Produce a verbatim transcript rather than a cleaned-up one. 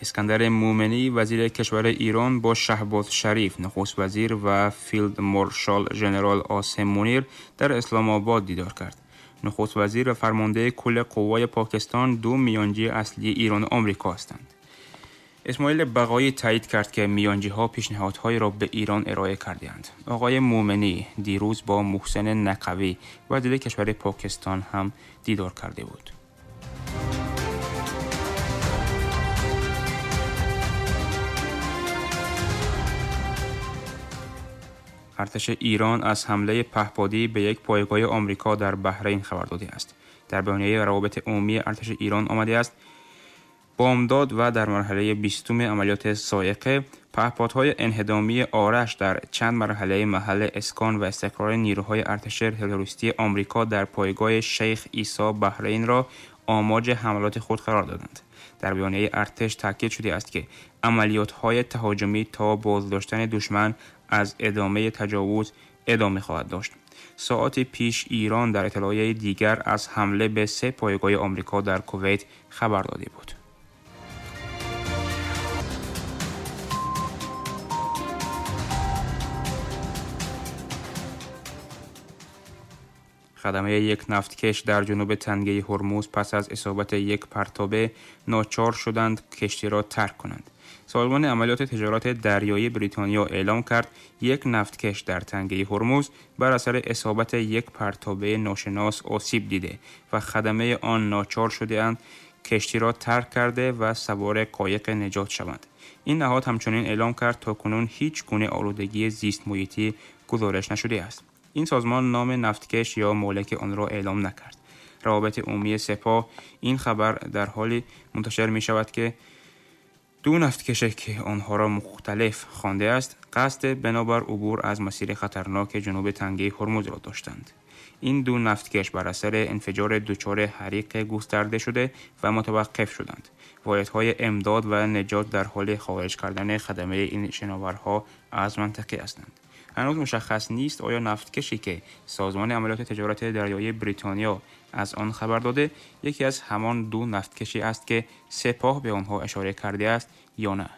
اسکندر مومنی وزیر کشور ایران با شهباز شریف نخست وزیر و فیلد مارشال ژنرال عاصم منیر در اسلام آباد دیدار کرد. نخست وزیر و فرمانده کل قوای پاکستان دو میانجی اصلی ایران و آمریکا هستند. اسماعیل بقایی تایید کرد که میانجی‌ها پیشنهادهایی را به ایران ارائه کرده‌اند. آقای مومنی دیروز با محسن نقوی وزیر کشور پاکستان هم دیدار کرده بود. ارتش ایران از حمله پهپادی به یک پایگاه آمریکا در بحرین خبر داده است. در بیانیه روابط عمومی ارتش ایران آمده است: بامداد و در مرحله بیستم عملیات صاعقه، پهپادهای انهدامی آرش در چند مرحله محل اسکان و استقرار نیروهای ارتش تروریستی آمریکا در پایگاه شیخ عیسی بحرین را آماج حملات خود قرار دادند. در بیانیه ارتش تاکید شده است که عملیات‌های تهاجمی تا بازداشتن دشمن از ادامه تجاوز ادامه خواهد داشت. ساعات پیش ایران در اطلاعیه دیگر از حمله به سه پایگاه آمریکا در کویت خبر داده بود. خدمه یک نفتکش در جنوب تنگه هرمز پس از اصابت یک پرتابه ناچار شدند کشتی را ترک کنند. سازمان عملیات تجارت دریایی بریتانیا اعلام کرد یک نفتکش در تنگه هرمز بر اثر اصابت یک پرتابه ناشناس آسیب دیده و خدمه آن ناچار شده‌اند کشتی را ترک کرده و سوار قایق نجات شوند. این نهاد همچنین اعلام کرد تاکنون هیچ گونه آلودگی زیست محیطی گزارش نشده است. این سازمان نام نفتکش یا مالک آن را اعلام نکرد. روابط عمومی سپاه این خبر در حالی منتشر می شود که دو نفتکش که آنها را مختلف خوانده است قصد بنابر عبور از مسیر خطرناک جنوب تنگه هرمز را داشتند. این دو نفتکش بر اثر انفجار دچار حریق گسترده شده و متوقف شدند. واحدهای امداد و نجات در حال خارج کردن خدمه این شناورها از منطقه هستند. هنوز مشخص نیست آیا نفتکشی که سازمان عملیات تجارت دریایی بریتانیا از آن خبر داده یکی از همان دو نفتکشی است که سپاه به آنها اشاره کرده است یا نه.